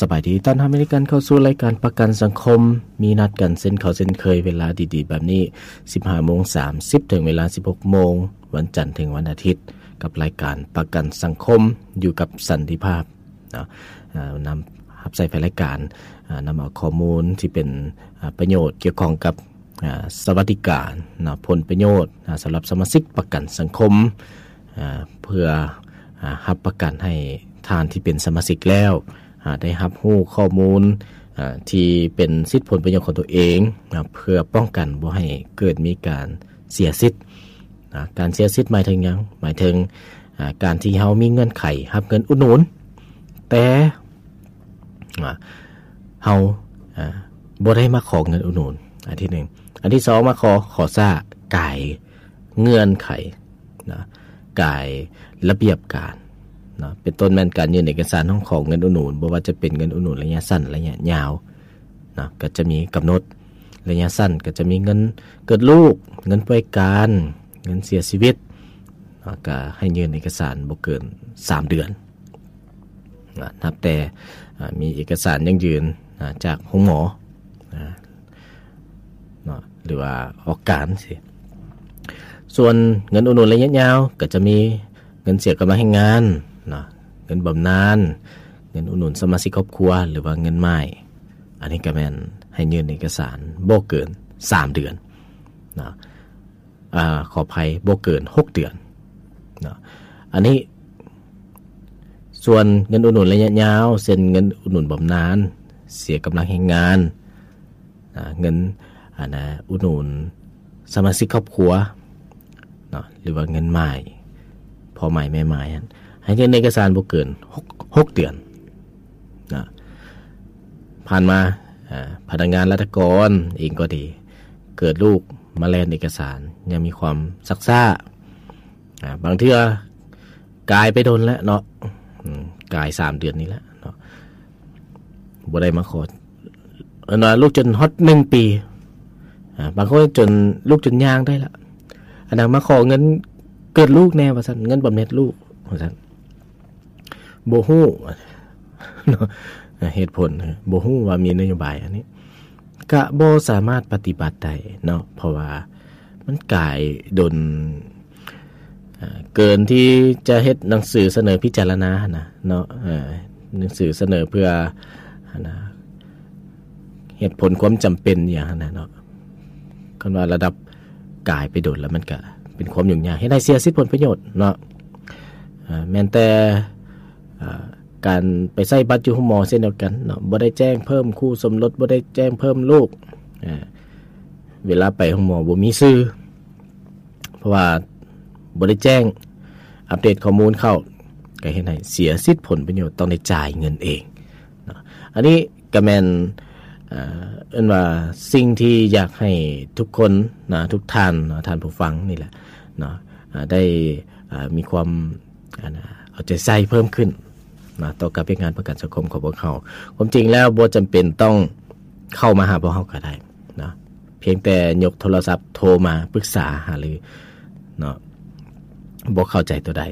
ສະບາຍດີ ຕ້ອນຮັບໃຫ້ກັນເຂົ້າສູ່ລາຍການປະກັນສັງຄົມ. ມີນັດກັນເຊັ່ນເກົ່າເຊັ່ນເຄີຍ ເວລາດີໆແບບນີ້ ສິບຫ້າໂມງສາມສິບ ເຖິງເວລາ ສິບຫົກໂມງ ວັນຈັນເຖິງວັນອາທິດ ກັບລາຍການປະກັນສັງຄົມ ຢູ່ກັບສັນຕິພາບເນາະ. ເອີ ນຳຮັບໃຊ້ແຟນລາຍການ ເອີ ນຳເອົາຂໍ້ມູນທີ່ເປັນ ເອີ ປະໂຫຍດກ່ຽວຂ້ອງກັບ ເອີ ສະຫວັດດີການເນາະ ຜົນປະໂຫຍດ ເອີ ສຳລັບສະມາຊິກປະກັນສັງຄົມ ເອີ ເພື່ອ ເອີ ຮັບປະກັນໃຫ້ທ່ານທີ່ເປັນສະມາຊິກແລ້ວ ເອີ ໄດ້ຮັບຮູ້ຂໍ້ມູນ ເອີ ທີ່ເປັນສິດຜົນປະໂຫຍດຂອງຕົວເອງ ເອີ ເພື່ອປ້ອງກັນບໍ່ໃຫ້ເກີດມີການເສຍສິດ. ນະ ການເສຍສິດໝາຍເຖິງຫຍັງ? ໝາຍເຖິງ ອາ ການທີ່ເຮົາມີເງື່ອນໄຂຮັບເງິນອຸດໜູນ ແຕ່ ອາ ເຮົາ ອາ ບໍ່ໄດ້ມາຂໍເງິນອຸດໜູນ ອັນທີໜຶ່ງ. ອັນທີສອງ ມາຂໍ ຂໍຊ້າ ກາຍເງື່ອນໄຂນະ ກາຍລະບຽບການນະ ເປັນຕົ້ນແມ່ນການຍື່ນເອກະສານຮ້ອງຂໍເງິນອຸດໜູນ ບໍ່ວ່າຈະເປັນເງິນອຸດໜູນໄລຍະສັ້ນ ໄລຍະຍາວ ນະ ກໍຈະມີກຳນົດ. ໄລຍະສັ້ນກໍຈະມີເງິນເກີດລູກ, ເງິນປ່ວຍການ, ເງິນເສຍຊີວິດ ນະ ກໍໃຫ້ຍື່ນເອກະສານບໍ່ເກີນສາມເດືອນ ນະ ນັບແຕ່ ອາ ມີເອກະສານຢັ້ງຢືນ ນະ ຈາກໂຮງໝໍ ນະ ເນາະ ຫຼືວ່າອອກການຊີ້. ສ່ວນເງິນອຸດໜູນໄລຍະຍາວ ກໍຈະມີເງິນເສຍກຳລັງແຮງງານເນາະ, ເງິນບຳນານ, ເງິນອຸດໜູນສະມາຊິກຄອບຄົວ ຫຼືວ່າເງິນໝ້າຍ. ອັນນີ້ກໍແມ່ນໃຫ້ຍື່ນເອກະສານບໍ່ເກີນສາມເດືອນເນາະ, ອາ ຂໍອະໄພ ບໍ່ເກີນຫົກເດືອນເນາະ. ອັນນີ້ ສ່ວນເງິນອຸດໜູນໄລຍະຍາວ ເຊັ່ນ ເງິນອຸດໜູນບຳນານ ເສຍກຳລັງແຮງງານ ອາ ເງິນ ອັນນະ ອຸດໜູນສະມາຊິກຄອບຄົວເນາະ ຫຼືວ່າເງິນໝ້າຍ ພໍ່ໝ້າຍແມ່ໝ້າຍຫັ້ນ ໃຫ້ຍື່ນເອກະສານບໍ່ເກີນຫົກ ຫົກເດືອນນະ. ຜ່ານມາ ອາ ພະນັກງານລັດຖະກອນເອງກໍດີ ເກີດລູກມາແລ່ນເອກະສານ ຍັງມີຄວາມຊັກຊ້າ ອາ ບາງເທື່ອກາຍໄປດົນແລ້ວເນາະ ອືມ ກາຍສາມເດືອນນີ້ແຫຼະເນາະ ບໍ່ໄດ້ມາຂໍ ເອີ້ນວ່າລູກຈົນຮອດໜຶ່ງປີ ອາ ບາງຄົນຈົນ ລູກຈົນຍ່າງໄດ້ລະ ອັນນັ້ນມາຂໍເງິນເກີດລູກແດ່ວ່າຊັ້ນ ເງິນບຳເນັດລູກວ່າຊັ້ນ ບໍ່ຮູ້ເນາະ ເຫດຜົນ ບໍ່ຮູ້ວ່າມີນະໂຍບາຍອັນນີ້ ກະບໍ່ສາມາດປະຕິບັດໄດ້ເນາະ ເພາະວ່າມັນກາຍດົນ ເອີ ເກີນທີ່ຈະເຮັດໜັງສືສະເໜີພິຈາລະນາຫັ້ນນະເນາະ ເອີ ໜັງສືສະເໜີເພື່ອ ຫັ້ນນະ ເຫດຜົນຄວາມຈຳເປັນອີ່ຫຍັງຫັ້ນນະເນາະ. ຄັນວ່າລະດັບກາຍໄປດົນແລ້ວ ມັນກະເປັນຄວາມຫຍຸ້ງຍາກ ເຮັດໃຫ້ເສຍສິດຜົນປະໂຫຍດເນາະ ເອີ ແມ່ນແຕ່ ເອີ ການໄປໃຊ້ບັດຢູ່ໂຮງໝໍເຊັ່ນດຽວກັນເນາະ ບໍ່ໄດ້ແຈ້ງເພີ່ມຄູ່ສົມລົດ ບໍ່ໄດ້ແຈ້ງເພີ່ມລູກ ເອີ ເວລາໄປໂຮງໝໍບໍ່ມີຊື່ ເພາະວ່າບໍ່ໄດ້ແຈ້ງອັບເດດຂໍ້ມູນເຂົ້າ ກໍເຮັດໃຫ້ເສຍສິດຜົນປະໂຫຍດ ຕ້ອງໄດ້ຈ່າຍເງິນເອງເນາະ. ອັນນີ້ກໍແມ່ນ ເອີ ເອີ້ນວ່າສິ່ງທີ່ຢາກໃຫ້ທຸກຄົນນະ ທຸກທ່ານເນາະ ທ່ານຜູ້ຟັງນີ້ແຫຼະເນາະ ອາ ໄດ້ ອາ ມີຄວາມ ອັນນະ ເອົາໃຈໃສ່ເພີ່ມຂຶ້ນນະ ຕໍ່ກັບວຽກງານປະກັນສັງຄົມຂອງພວກເຮົາ. ຄວາມຈິງແລ້ວບໍ່ຈຳເປັນຕ້ອງເຂົ້າມາຫາພວກເຮົາກໍໄດ້ນະ ພຽງແຕ່ຍົກໂທລະສັບໂທມາປຶກສາຫາລືເນາະ ບໍ່ເຂົ້າໃຈຕົວໃດ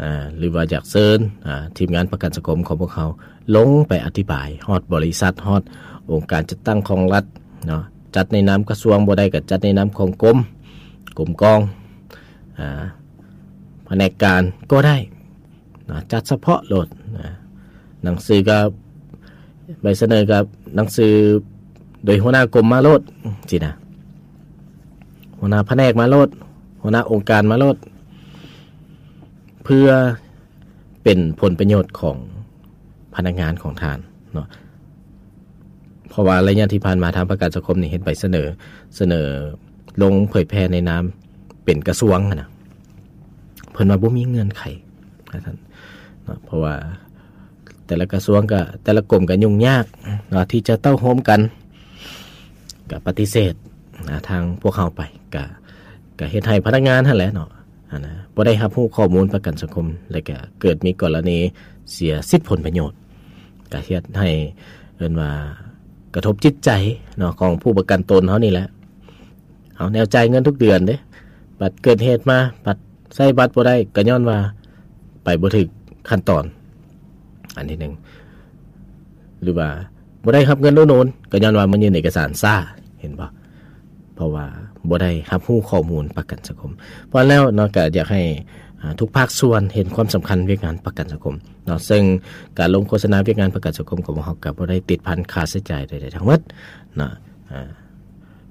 ອາ ຫຼືວ່າຢາກເຊີນ ອາ ທີມງານປະກັນສັງຄົມຂອງພວກເຮົາລົງໄປອະທິບາຍຮອດບໍລິສັດ ຮອດອົງການຈັດຕັ້ງຂອງລັດເນາະ ຈັດໃນນາມກະຊວງ ບໍ່ໄດ້ກໍຈັດໃນນາມຂອງກົມ ກົມກອງ ອາ ພະແນກການກໍໄດ້ ນະ ຈັດສະເພາະໂລດນະ ໜັງສືກໍ ໃບສະເໜີກໍໜັງສືໂດຍຫົວໜ້າກົມມາໂລດຊີ້ນະ ຫົວໜ້າພະແນກມາໂລດ ຫົວໜ້າອົງການມາໂລດ ເພື່ອເປັນຜົນປະໂຫຍດຂອງພະນັກງານຂອງທ່ານເນາະ. ເພາະວ່າໄລຍະທີ່ຜ່ານມາທາງປະກັນສັງຄົມນີ້ເຮັດໃບສະເໜີ ສະເໜີລົງເຜີຍແຜ່ໃນນາມເປັນກະຊວງຫັ້ນນະ ເພິ່ນວ່າບໍ່ມີເງື່ອນໄຂວ່າຊັ້ນເນາະ ເພາະວ່າແຕ່ລະກະຊວງກະ ແຕ່ລະກົມກະຫຍຸ້ງຍາກເນາະ ທີ່ຈະເຕົ້າໂຮມກັນ ກະປະຕິເສດນະ ທາງພວກເຮົາໄປ ກະ ກະເຮັດໃຫ້ພະນັກງານຫັ້ນແຫຼະເນາະ ຫັ້ນນະ ບໍ່ໄດ້ຮັບຮູ້ຂໍ້ມູນປະກັນສັງຄົມ ແລະກະເກີດມີກໍລະນີເສຍສິດຜົນປະໂຫຍດ ກະເຮັດໃຫ້ ເອີ້ນວ່າກະທົບຈິດໃຈເນາະ ຂອງຜູ້ປະກັນຕົນເຮົານີ້ແຫຼະ. ເຮົາແນວຈ່າຍເງິນທຸກເດືອນເດ້ ບັດເກີດເຫດມາ ບັດໃຊ້ບັດບໍ່ໄດ້ ກະຍ້ອນວ່າໄປບໍ່ຖືກຂັ້ນຕອນ ອັນທີໜຶ່ງ. ຫຼືວ່າບໍ່ໄດ້ຮັບເງິນອຸດໜູນ ກໍຍ້ອນວ່າມາຍື່ນເອກະສານຊ້າ ເຫັນບໍ່? ເພາະວ່າບໍ່ໄດ້ຮັບຮູ້ຂໍ້ມູນປະກັນສັງຄົມ. ເພາະນັ້ນແລ້ວເນາະ ກໍຢາກໃຫ້ ອ່າ ທຸກພາກສ່ວນເຫັນຄວາມສຳຄັນວຽກງານປະກັນສັງຄົມເນາະ, ເຊິ່ງການລົງໂຄສະນາວຽກງານປະກັນສັງຄົມຂອງພວກເຮົາກໍບໍ່ໄດ້ຕິດພັນຄ່າໃຊ້ຈ່າຍໃດໆທັງໝົດເນາະ, ອ່າ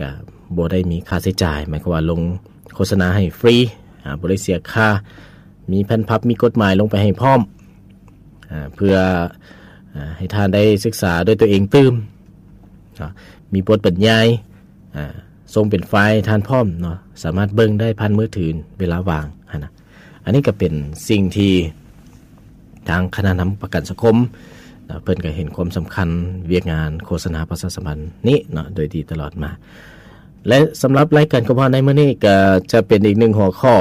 ກະບໍ່ໄດ້ມີຄ່າໃຊ້ຈ່າຍ ໝາຍຄວາມວ່າລົງໂຄສະນາໃຫ້ຟຣີ ອ່າ ບໍ່ໄດ້ເສຍຄ່າ, ມີແຜ່ນພັບ ມີກົດໝາຍລົງໄປໃຫ້ພ້ອມ ອ່າ ເພື່ອ ອ່າ ໃຫ້ທ່ານໄດ້ສຶກສາດ້ວຍຕົວເອງຕື່ມເນາະ, ມີບົດບັນຍາຍ ອ່າ ສົ່ງເປັນໄຟລ໌ໃຫ້ທ່ານພ້ອມເນາະ, ສາມາດເບິ່ງໄດ້ຜ່ານມືຖືເວລາວ່າງຫັ້ນນະ. ອັນນີ້ກໍເປັນສິ່ງທີ່ທາງຄະນະນຳປະກັນສັງຄົມເນາະ ເພິ່ນກໍເຫັນຄວາມສຳຄັນວຽກງານໂຄສະນາປະຊາສຳພັນນີ້ເນາະ ໂດຍດີຕະຫຼອດມາ. ແລະ ສຳລັບລາຍການຂອງເຮົາໃນມື້ນີ້ກໍຈະເປັນອີກໜຶ່ງຫົວຂໍ້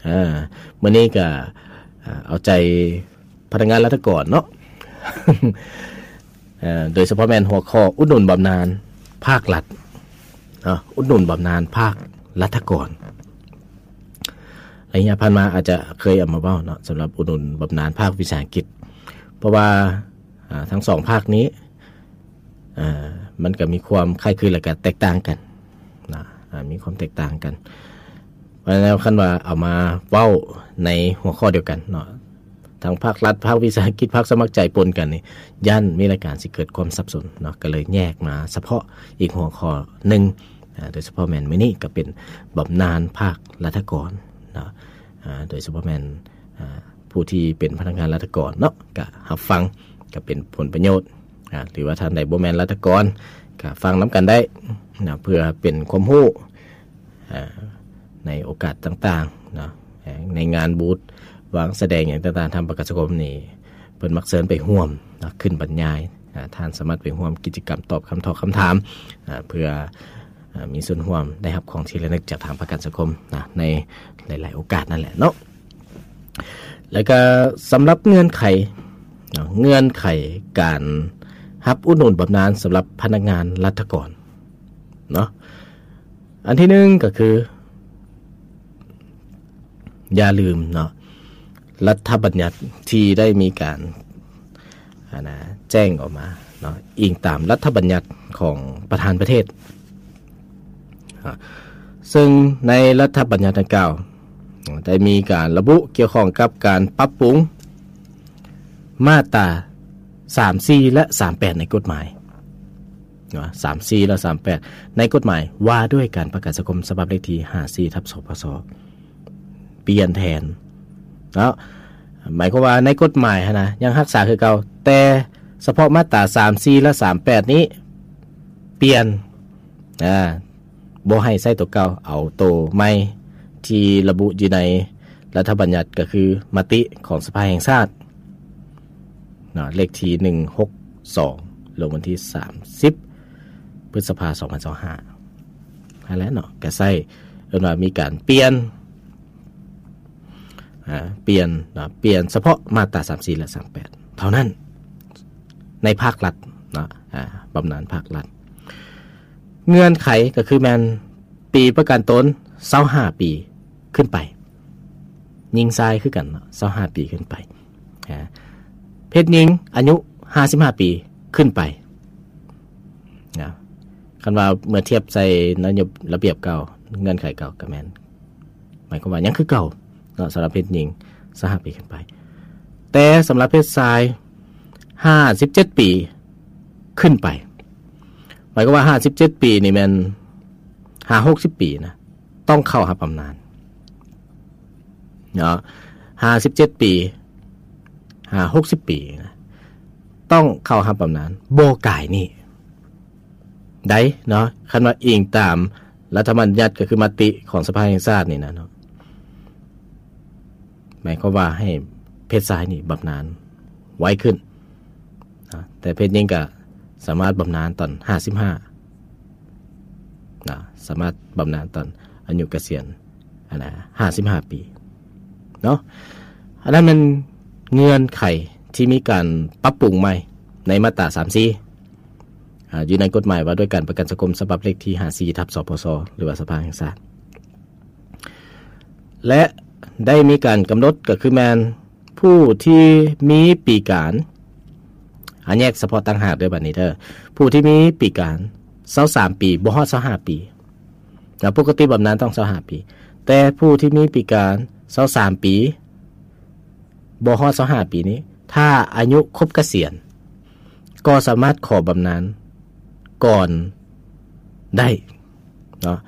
ອ່າ ມື້ນີ້ກໍ ອ່າ ເອົາໃຈ ພະນັກງານລັດຖະກອນເນາະ ເອີ ໂດຍສະເພາະແມ່ນຫົວຂໍ້ອຸດໜູນບຳນານພາກລັດເນາະ, ອຸດໜູນບຳນານພາກລັດຖະກອນ. ໄລຍະຜ່ານມາອາດຈະເຄີຍເອົາມາເວົ້າເນາະ ສຳລັບອຸດໜູນບຳນານພາກວິສາຫະກິດ ເພາະວ່າ ອ່າ ທັງສອງພາກນີ້ ອ່າ ມັນກໍມີຄວາມຄ້າຍຄື ແລະ ກໍແຕກຕ່າງກັນນະ ອ່າ ມີຄວາມແຕກຕ່າງກັນ. ເພາະນັ້ນແລ້ວ ຄັນວ່າເອົາມາເວົ້າໃນຫົວຂໍ້ດຽວກັນເນາະ ທັງພາກລັດ, ພາກວິສາຫະກິດ, ພາກສະໝັກໃຈປົນກັນນີ້ ຢ້ານມີລາຍການຊິເກີດຄວາມສັບສົນເນາະ, ກໍເລີຍແຍກມາສະເພາະອີກຫົວຂໍ້ໜຶ່ງ ອ່າ ໂດຍສະເພາະແມ່ນມື້ນີ້ກໍເປັນບຳນານພາກລັດຖະກອນເນາະ, ອ່າ ໂດຍສະເພາະແມ່ນ ອ່າ ຜູ້ທີ່ເປັນພະນັກງານລັດຖະກອນເນາະ ກະຮັບຟັງ ກະເປັນຜົນປະໂຫຍດ ອ່າ ຫຼືວ່າທ່ານໃດບໍ່ແມ່ນລັດຖະກອນ ກະຟັງນຳກັນໄດ້ນະ ເພື່ອເປັນຄວາມຮູ້ ອ່າ ໃນໂອກາດຕ່າງໆເນາະ, ໃນງານບູດວາງສະແດງຫຍັງຕ່າງໆ ທາງປະກັນສັງຄົມນີ້ ເພິ່ນມັກເຊີນໄປຮ່ວມເນາະ ຂຶ້ນບັນຍາຍ, ອ່າ ທ່ານສາມາດໄປຮ່ວມກິດຈະກຳຕອບຄຳຖາມ ເພື່ອ ອ່າ ມີສ່ວນຮ່ວມໄດ້ຮັບຂອງທີ່ລະນຶກຈາກທາງປະກັນສັງຄົມນະ ໃນຫຼາຍໆໂອກາດນັ້ນແຫຼະເນາະ. ແລ້ວກໍສຳລັບເງື່ອນໄຂເນາະ ເງື່ອນໄຂການຮັບອຸດໜູນບຳນານສຳລັບພະນັກງານລັດຖະກອນເນາະ, ອັນທີໜຶ່ງກໍຄື ຢ່າລືມເນາະ ລັດຖະບັນຍັດທີ່ໄດ້ມີການ ອັນນະ ແຈ້ງອອກມາເນາະ ອີງຕາມລັດຖະບັນຍັດຂອງປະທານປະເທດ ອ່າ ເຊິ່ງໃນລັດຖະບັນຍັດດັ່ງກ່າວ ໄດ້ມີການລະບຸກ່ຽວຂ້ອງກັບການປັບປຸງມາດຕາ ສາມສີ່ ແລະ ສາມແປດ ໃນກົດໝາຍເນາະ ສາມສີ່ ແລະ ສາມແປດ ໃນກົດໝາຍວ່າດ້ວຍການປະກັນສັງຄົມ ສະບັບເລກທີ ຫ້າສີ່ ທັບ ສພສ ປ່ຽນແທນເນາະ. ໝາຍຄວາມວ່າໃນກົດໝາຍຫັ້ນນະ ຍັງຮັກສາຄືເກົ່າ, ແຕ່ສະເພາະມາດຕາ ສາມສີ່ ແລະ ສາມແປດ ນີ້ປ່ຽນ ອ່າ ບໍ່ໃຫ້ໃຊ້ໂຕເກົ່າ, ເອົາໂຕໃໝ່ທີ່ລະບຸຢູ່ໃນລັດຖະບັນຍັດ ກໍຄືມະຕິຂອງສະພາແຫ່ງຊາດເນາະ ເລກທີ ໜຶ່ງຫົກສອງ ລົງວັນທີ ສາມສິບ ພຶດສະພາ ສອງພັນຊາວຫ້າ ຫັ້ນແຫຼະເນາະ, ກໍໃຊ້ ເອີ້ນວ່າມີການປ່ຽນ ອ່າ ປ່ຽນເນາະ ປ່ຽນສະເພາະມາດຕາ ສາມສີ່ ແລະ ສາມແປດ ເທົ່ານັ້ນ ໃນພາກລັດເນາະ ອ່າ ບຳນານພາກລັດ. ເງື່ອນໄຂກໍຄືແມ່ນປີປະກັນຕົນ ຊາວຫ້າປີຂຶ້ນໄປ, ຍິງຊາຍຄືກັນເນາະ ຊາວຫ້າປີຂຶ້ນໄປ, ອ່າ ເພດຍິງອາຍຸ ຫ້າສິບຫ້າ ປີຂຶ້ນໄປນະ. ຄັນວ່າເມື່ອທຽບໃສ່ນະໂຍບາຍ ລະບຽບເກົ່າ ເງື່ອນໄຂເກົ່າກໍແມ່ນ ໝາຍຄວາມວ່າຍັງຄືເກົ່າເນາະ ສຳລັບເພດຍິງ ຊາວຫ້າປີຂຶ້ນໄປ, ແຕ່ສຳລັບເພດຊາຍ ຫ້າສິບເຈັດປີຂຶ້ນໄປ. ໝາຍຄວາມວ່າ ຫ້າສິບເຈັດປີນີ້ແມ່ນ ຫາ ຫົກສິບປີນະ ຕ້ອງເຂົ້າຮັບບຳນານເນາະ, ຫ້າສິບເຈັດປີ ຫາ ຫົກສິບປີນະ ຕ້ອງເຂົ້າຮັບບຳນານ ບໍ່ກາຍນີ້ ໄດ້ເນາະ. ຄັນວ່າອີງຕາມລັດຖະບັນຍັດ ກໍຄືມະຕິຂອງສະພາແຫ່ງຊາດນີ້ນະເນາະ, ໝາຍຄວາມວ່າໃຫ້ເພດຊາຍນີ້ບຳນານໄວຂຶ້ນນະ, ແຕ່ເພດຍິງກໍສາມາດບຳນານຕອນ ຫ້າສິບຫ້ານະ, ສາມາດບຳນານຕອນອາຍຸກະສຽນ ອັນນະ ຫ້າສິບຫ້າປີເນາະ. ອັນນັ້ນແມ່ນເງື່ອນໄຂທີ່ມີການປັບປຸງໃໝ່ໃນມາດຕາ ສາມສີ່ ອ່າ ຢູ່ໃນກົດໝາຍວ່າດ້ວຍການປະກັນສັງຄົມ ສະບັບເລກທີ ຫ້າສີ່ ທັບ ສພສ ຫຼືວ່າສະພາແຫ່ງຊາດ ແລະ ໄດ້ມີການກຳນົດ ກໍຄືແມ່ນຜູ້ທີ່ມີປີການ ອາ ແຍກສະເພາະຕ່າງຫາກເດີ ບັດນີ້ເດີ. ຜູ້ທີ່ມີປີການຊາວສາມປີ ບໍ່ຮອດຊາວຫ້າປີ ແລ້ວປົກກະຕິບຳນານຕ້ອງຊາວຫ້າປີ ແຕ່ຜູ້ທີ່ມີປີການຊາວສາມປີ ບໍ່ຮອດຊາວຫ້າປີນີ້ ຖ້າອາຍຸຄົບກະສຽນ ກໍສາມາດຂໍບຳນານກ່ອນໄດ້ເນາະ.